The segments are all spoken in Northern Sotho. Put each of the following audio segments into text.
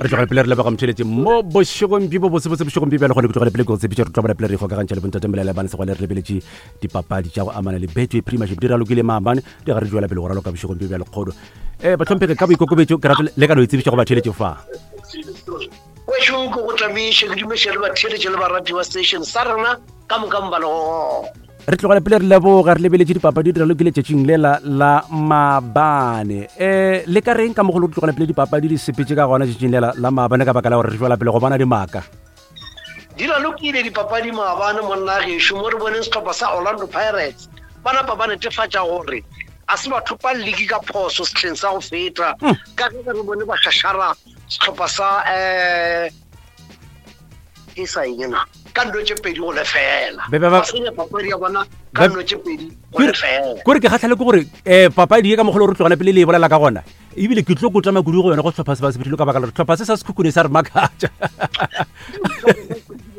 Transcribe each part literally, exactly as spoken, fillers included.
Re tlogela pele re leboga motšheletše mo bošegong bjo bo botsebotse bošegong bjo bjale gone ke tlogele pele ke go tshepiša re tlo bona pele re ikgokagantšha le bontate Molela Bane Segwale re lebeletše dipapadi tša go amana le Betway Premiership di ralokile maabane di ga re tšwela pele go raloka bošegong bjo bjale kgodo. Um bahlomphegi ka boikokobetšo ke rata le ka no itsebiša go batheeletše fa. Wešo ke go tlamiše ke dumeše le batheeletše le barati ba station sa rena ka moka mo ba lego gona. Re tlogela pele re leboga re lebeletše dipapadi di ralokile tšatšing lela la maabane. Um le ka reng ka mogolo re tlogela pele dipapadi di sepetse ka gona tšatšing lela la maabane ka baka la gore re tšwela pele go bona dimaka? Di ralokile dipapadi maabane monna gešo mo re boneng sehlopha sa Orlando Pirates ba napa ba netefatša gore a se batho pa league ka phoso sehleng sa go feta ka ge re bone ba šašara sehlopha sa um ke sa eng na ka nno tše pedi go lefela. Be- be- ba- Ba senya papadi ya bona ka Be- nno tše pedi go Kore- lefela. Kore ke kgatlhale ke gore um papadi ye ka mogolo re tlogela pele le e bolela ka gona ebile ke tlo kotama kudu go yona go sehlopha se ba se phethile ka baka la gore sehlopha se sa Sekhukhune sa re makatša.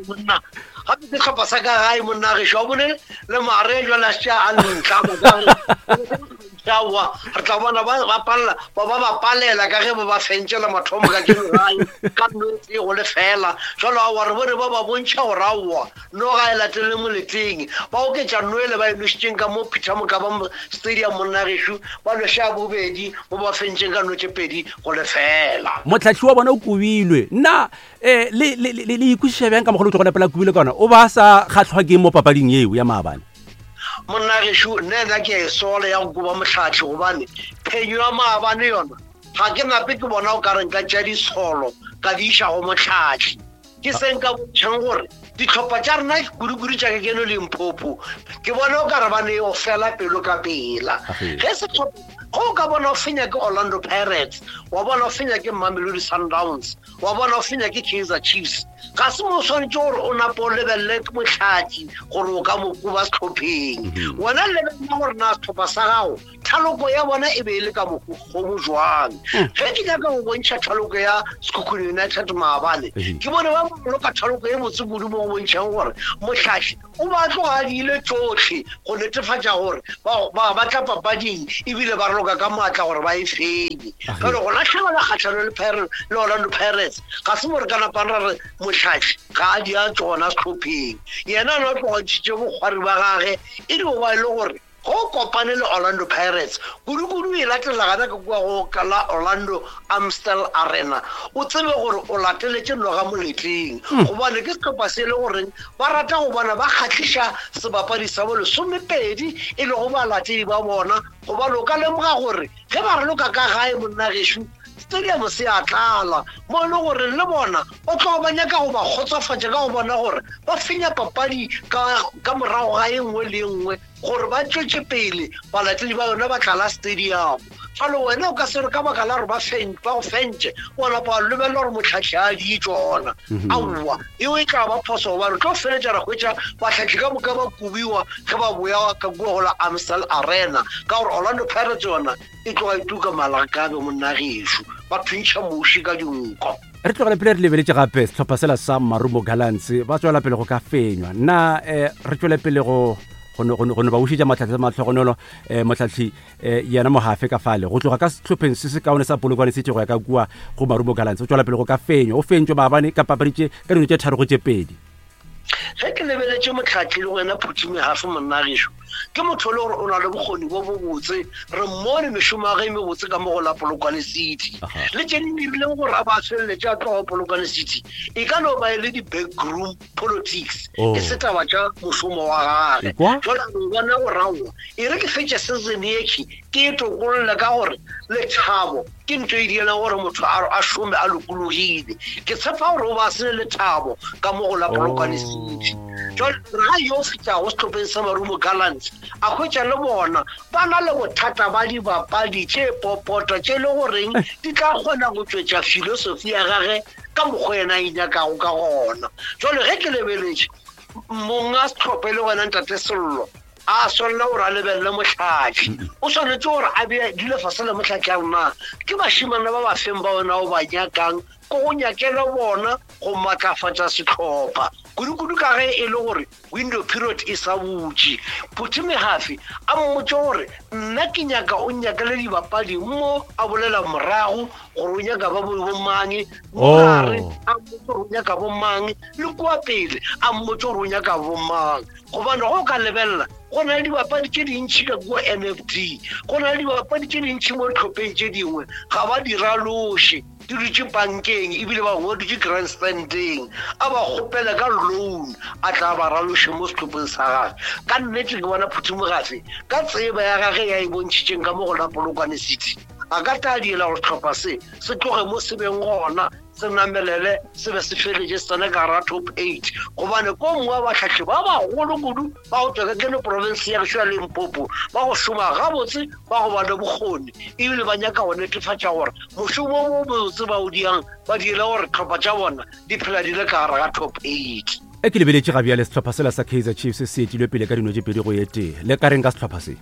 Monna gape ke sehlopha sa ka gae monna gešo wa bone le mare jwale a šetše a ntlama ka gore aowa re tla bona ba ba palela ba ba ba palela ka ge ba ba fentše la mathomo ka keno gae ka nno e tee go lefela. Jwale aowa re bone ba ba bontšha gore aowa noga e latelele moleteng ba oketša nno ele ba e nošitšeng ka mo Peter Mokaba Stadium monna gešo ba noša bobedi mo ba fentšeng ka nno tše pedi go lefela. Motlhahli wa bona o kobilwe nna um le le- le le ikwešiša bjang ka mogolo o tlo go nepela kobilwe ka ona o ba sa kgatlhwa ke mo papading yeo ya maabane? Monna gešo nna ena ke a e sola ya go koba motlhahli gobane phenyo ya maabane yona ga ke nape ke bona o ka re nka tša disolo ka di iša go motlhahli. Ke se nka bontšhang gore ditlhopha tša rena kudu-kudu tša Kekeno Limpopo ke bona o ka re ba ne o fela pelo ka pela. Age. Ge setlhopha go o ka bona o fenya ke Orlando Pirates wa bona o fenya ke Mamelodi Sundowns wa bona o fenya ke Kaizer Chiefs ga se mo o swanetše gore o nape o lebelele motlhahli gore o ka mo koba sehlopheng. Mhm. Wena lebelela gore na sehlopha sa gago thaloko ya bona e be e le ka mokgomo jwang. Ge ke nyaka go bontšha thaloko ya Sekhukhune United maabane Ehe. ke bone ba boloka thaloko e botse kudu mo go bontšhang gore motlhahli o ba tloga a diile tšohle go netefatša gore ba ba ba tla papading ebile ba raloka ka maatla gore ba e fenye. Age. Jwale go latlhegelwa kgatlhano le Pirates le Orlando Pirates ga se mo re ka napang ra re motlhahli ga a di a tšona sehlopheng. Yena a na tloga ntšhitše bokgwari ba gage e dio ba e le gore go kopane le Orlando Pirates kudu-kudu e latela gana ka kua go ka la Orlando Amstel Arena o tsebe gore o lateletše noga moletleng gobane ke sehlopha se e le goreng ba rata go bona ba kgahliša sebapadi sa bo lesomepedi e lego balatedi ba bona gobane o ka lemoga gore ge ba raloka ka gae monna gešo stadium se a tlala mo e le gore le bona o tloga ba nyaka go ba kgotsofatša ka go bona gore ba fenya papadi ka ka morago ga e nngwe le e nngwe gore ba tšwetše pele balatedi ba yona ba tlala stadium. Jwale wena o ka se re ka baka la gore ba fen- ba go fentše wa napa wa lebelela gore motlhahli a di tšona. Aowa eo e tla ba phoso gobane tlo feletša ra hwetša batlhahli ka moka ba kobiwa ge ba boya ka kua go la Amstel Arena ka gore Orlando Pirates yona e tloga e tuka malakabe monna gešo ba thuntšha moši ka dinko. Re tlogele pele re lebeletše gape sehlopha sela sa Marumo Gallants ba tswela pele go ka fenywa nna um re tswele pele go go no- go no go no ba bušetša matlhatsi a matlhogonolo um motlhahli um yena Mohafe ka fale go tloga ka sehlopheng se se kaone sa Polokwane City go ya ka kua go Marumo Gallants o tswela pele go ka fenywa o fentšwe maabane ka papadi tše ka dino tše tharo go tše pedi. Ge ke lebeletše motlhahli le wena Phuthi Mehafe monna gešo ke motho e le gore o na le bokgoni bo bo botse re mmone mešomo ya ge e mebotse ka mo go la Polokwane City Aha. le tše di dirileng gore a ba feleletše a tloga Polokwane City e ka no ba e le di-backroom politics Oh. e se taba tša mošomo wa gage. Ekwa? Jwale a no bona gore aowa e re ke fetše season ekhi ke e tokolle ka gore lethabo ke ntho e dirang gore motho a a šome a lokologile. Ke tshepa gore o ba se le lethabo ka mo go la Polokwane City. Jwale ga yo fihla go sehlopheng sa Marumo Gallants a hwetša le bona ba na le bothata ba dibapadi tše popota tše le goreng di tla kgona go tšwetša filosofi ya gage ka mokgwa yena a e nyakago ka gona. Jwale ge ke lebeletše monga sehlopha e le gona ntate Sello a swanela gore a lebelele motlhahli o swanetše gore a bee dule fase le motlhahli a rena ke bašemane ba ba feng ba wena o ba nyakang ko go nyakela bona go matlafatša sehlopha kudu-kudu ka ge e le gore window period e sa butše. Phuthi Mehafi a mmotse gore nna ke nyaka o nyakele dibapadi mo a bolela morago gore o nyaka ba bomang, mogare a mmotse gore o nyaka bomang, le kua pele a mmotse gore o nyaka bomang. Gobane go ka lebelela go na le dibapadi tše dintšhi ka kua N F D, go na le dibapadi tše dintšhi mo ditlhopheng tše dingwe ga ba di raloše, di dutše bankeng ebile ba bangwe ba dutše grandstandeng, a ba kgopela ka loan a tla ba raloše mo sehlopheng sa gage. Ka nnete ke bona Phuthi Mogafe ka tseba ya gage ya e bontšhitšeng ka mo go la Polokwane City, a ka tla diela gore sehlopha se se tloge mo se beng gona, se namelele se be se feletše se tsene ka gara top eight. Gobane ko mongwe wa bahlahli ba bagolo kudu ba go tswa ka keno province ya gešo ya Limpopo ba go šoma gabotse, ba go ba le bokgoni, ebile ba nyaka go netefatša gore mošomo o mobotse ba o diang ba diele gore tlhopha tša bona di phela di le ka gare ga top eight. E ke lebeletše ga bjale sehlopha sela sa Kaizer Chiefs se etilwe pele ka dino tše pedi go ye tee. Le ka reng ka sehlopha se?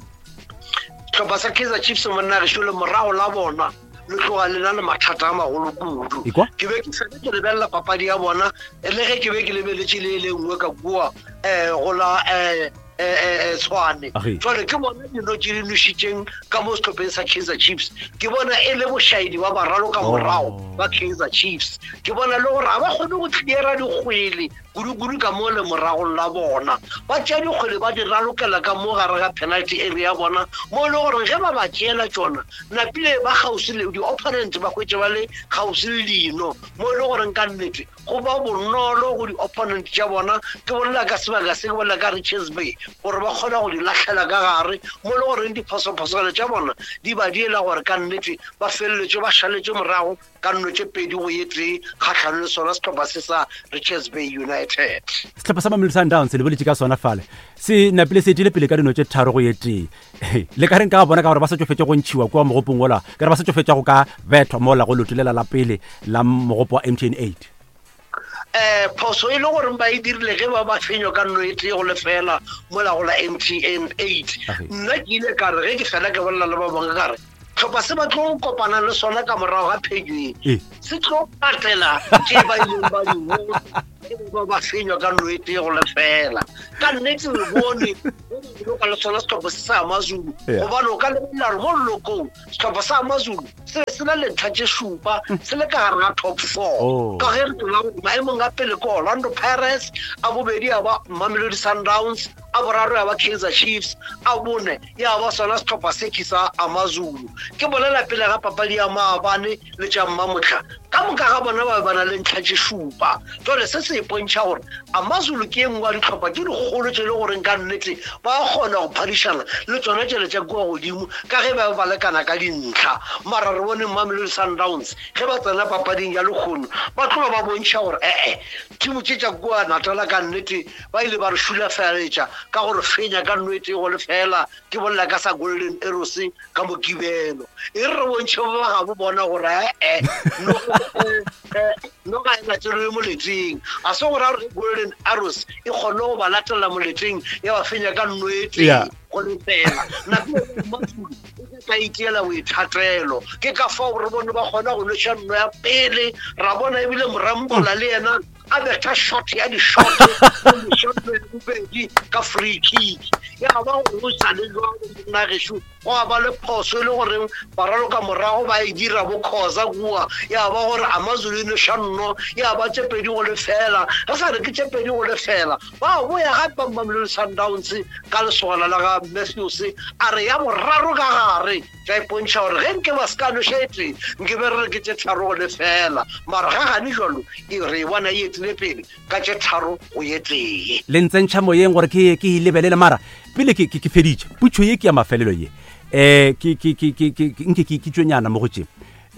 Sehlopha sa Kaizer Chiefs monna gešo le morago la bona le tloga le na le mathata a magolo kudu. Ke be ke fele ke lebelela papadi ya bona, le ge ke be ke lebeletše le le nngwe ka kua um go la um Tshwane. Jwale ke bona dino tše di nošitšeng ka mo sehlopheng sa Kaizer Chiefs, ke bona e le bošaedi ba baralo ka morago ba Kaizer Chiefs. Ke bona le gore ga ba kgone go cleara dikgwele kudu-kudu ka mo le moragong la bona, ba tšea dikgwele ba di ralokela ka mo gare ga penalty area ya bona, mo e le gore ge ba ba tšeela tšona napile ba kgauswi le di-opponent ba hwetše ba le kgauswi le dino, mo e le goreng ka nnete go ba bonolo go di-opponent tša bona. Ke bolela ka sebaka se, ke bolela ka Richards Bay, gore ba kgona go di lahlela ka gare, mo e le goreng diphosophoswana tša bona di ba diela gore ka nnete ba feleletše ba šaletše morago ka nno tše pedi go ye tee kgahlano le sona sehlopha se sa Richards Bay United. Sehlopha sa Mamelodi Sundowns le boletše ka sona fale, se napile se etile pele ka dino tše tharo go ye tee. Le ka reng ka bona ka gore ba sa tšofetše go ntšhiwa kua mogopong ola, ka re ba sa tšofetša go ka bethwa mola go lotolela la pele la mogopo wa M T N eight? Eh phoso e le gore ba e dirile ge ba ba fenywa ka nno e tee go lefela mola go la M T N eight. Nna ke ile ka re ge ke fela ke bolela le ba bangwe ka re tlhopha se ba tlo kopana le sona ka morago ga phenyo e se tlo patela tše ba ileng ba di bona ba ba fenywa ka nno e tee go lefela. Ka nnete re bone ka le sona sehlopha se sa AmaZulu, gobane o ka lebelela gore mo lelokong sehlopha sa AmaZulu se se na le ntlha tše šupa, se le ka gare ga top four. Ka ge re tseba gore maemong a pele ke Orlando Pirates, a bobedi ya ba Mamelodi Sundowns, a boraro ya ba Kaizer Chiefs, a bone ya ba sona sehlopha se ke sa AmaZulu. Ke bolela pele ga papadi ya maabane le tša mmamohla, ka moka ga bona ba ba na le ntlha tše šupa. Jwale se se ipontšha gore AmaZulu ke e nngwe ya dihlopha tše dikgolo tše le goreng ka nnete ba kgona go phadišana le tsona tšele tša kua godimo ka ge ba ba lekana ka dintlha. Mara re bone Mamelodi Sundowns ge ba tsena papading ya lekgono ba tloga ba bontšha gore ee timo tše tša kua Natala ka nnete ba ile ba re šulafaletša ka gore fenya ka nno e tee go lefela. Ke bolela ka sa Golden Arrows ka Mokibelo, e re re bontšhe ba gabo bona gore ee no ga e latelwe moleteng, a se gore a re Golden Arrows e kgone go ba latela moleteng ya ba fenya ka nno e tee go lefela. Nako ka itiela boithatelo, ke ka fao re bone ba kgona go nweša nno ya pele, ra bona ebile Morambola le yena a betha shot ya di-shot ya bobedi ka free kick. Ya ba gore o sa le jwalo monna gešo, gwa ba le phoso e le goreng baraloka morago ba e dira bo Khoza kua, ya ba gore AmaZulu e noša nno ya ba tše pedi go lefela. Re sa re ke tše pedi go lefela, ba boya gape Mamelodi Sundowns ka lesogana la ga Matthews a re ya boraro ka gare, tša ipontšha gore ge nke ba se ka noša e tee nke be re re ke tše tharo go lefela. Mara ga gane jwalo e re e bona e etile pele ka tše tharo go ye tee. Le ntsentšha moyeng gore ke ke e lebelele, mara pele ke ke feditše putšo ye ke ya mafelelo ye eh ke ke ke ke nke ke ke tšwenyana mo go tše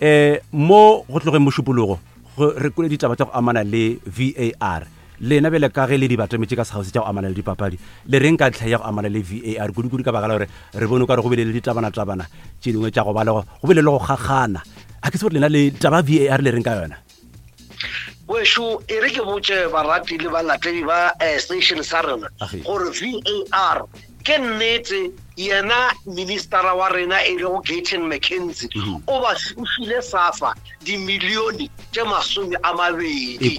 eh mo go tlogeng mošupologo re kwele ditaba tša go amana le V A R. Lena bjale ka ge le di batametše ka segausi tša go amana le dipapadi, le reng ka ntlha ya go amana le V A R kudu-kudu ka baka la gore re bone o ka re go bile le ditabana-tabana tše dingwe tša go ba le go bile le go kgakgana. A ke se gore lena le taba V A R le reng ka yona? Wešo e re ke botše barati le balatedi ba station sa rena gore V A R ke nnete Yena ministera wa rena e lego Gayton McKenzie o ba o file SAFA dimilione tše masome a mabedi.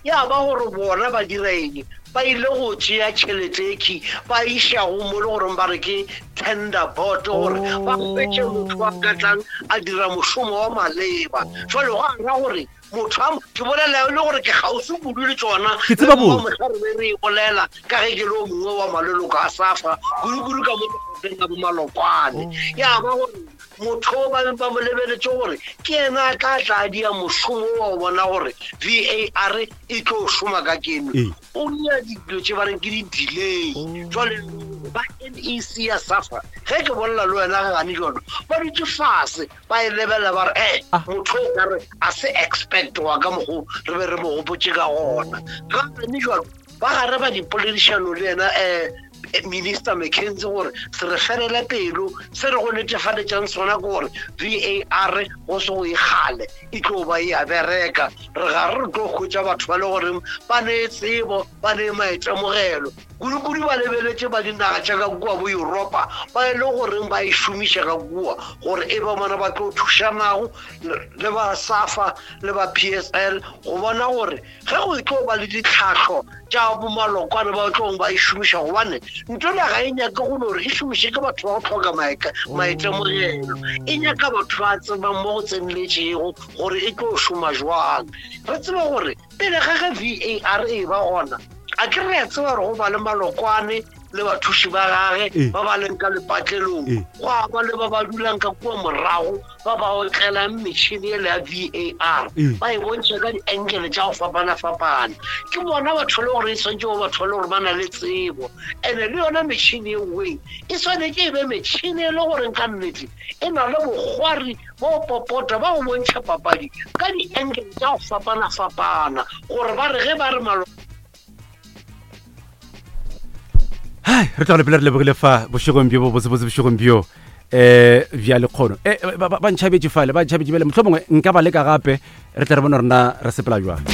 Ya ba gore bona ba dira eng? Ba ile go tšea tšhelete eki ba iša go mo le goreng ba re ke tender board gore ba hwetše motho a ka tlang a dira mošomo wa maleba. Jwale go ra gore motho a ke bolela le gore ke kgauswi kudu le tšona Ke tseba botse. re be re e bolela ka ge ke le o mongwe wa maleloko a SAFA kudu-kudu ka mo lefapheng la bomalokwane. Ya ba gore motho ba ba mo lebeletše gore ke yena a tla tla dia mošomo wa go bona gore V A R e tlo šoma ka keno. O nia dilo tše ba reng ke di-delay. Jwale ba N E C ya SAFA ge ke bolela le wena gane jalo ba dutše fase ba e lebelela ba re eh motho o ka re a se expect wa ka mokgo re be re mo gopotše ka gona. Gane jalo ba gare ba dipoledišano le yena um Minister McKenzie gore se re felele pelo se re go netefaletšang sona ke gore V A R go se go e kgale e tlo ba e a bereka. Re ga re tlo hwetša batho ba le goreng ba ne tsebo ba ne maitemogelo kudu-kudu ba lebeletše ba dinaga tša ka kua bo Europa ba e le goreng ba e šomiša ka kua gore e ba bona ba tlo thušanago le ba SAFA le ba P S L go bona gore ge go tlo ba le ditlhahlo tša bomalokwane ba tlong ba e šomiša gobane ntho le ga e nyake go gore e šomiše ke batho ba go hloka maitemogelo, e nyaka batho ba tsebang mo go tseneletšego gore e tlo šoma jwang. Re tsebe gore pele ga ge V A R e ba gona a ke re a tseba gore go ba le malokwane le bathuši ba gage ba ba leng ka lepatlelong go a ba le ba ba dulang ka kua morago ba ba otlelang metšhini ele ya V A R ba e bontšha ka di-angle tša go fapana-fapana. Ke bona batho le gore e swanetše go batho le gore ba na le tsebo and-e le yona metšhini e nngwe e swanetše e be metšhini e le goreng ka nnete e na le bokgwari bo popota ba go bontšha papadi ka di-angle tša go fapana-fapana gore ba re ge ba re malo. Hai, re tla le pele re lebogile fa bošegong bjo bo botsebotse bošegong bjo eh bja lekgono. Eh ba ntšhabetše fale, ba ntšhabetše bjale mohlomongwe nka ba leka gape re tle re bone rena re sepela jwang.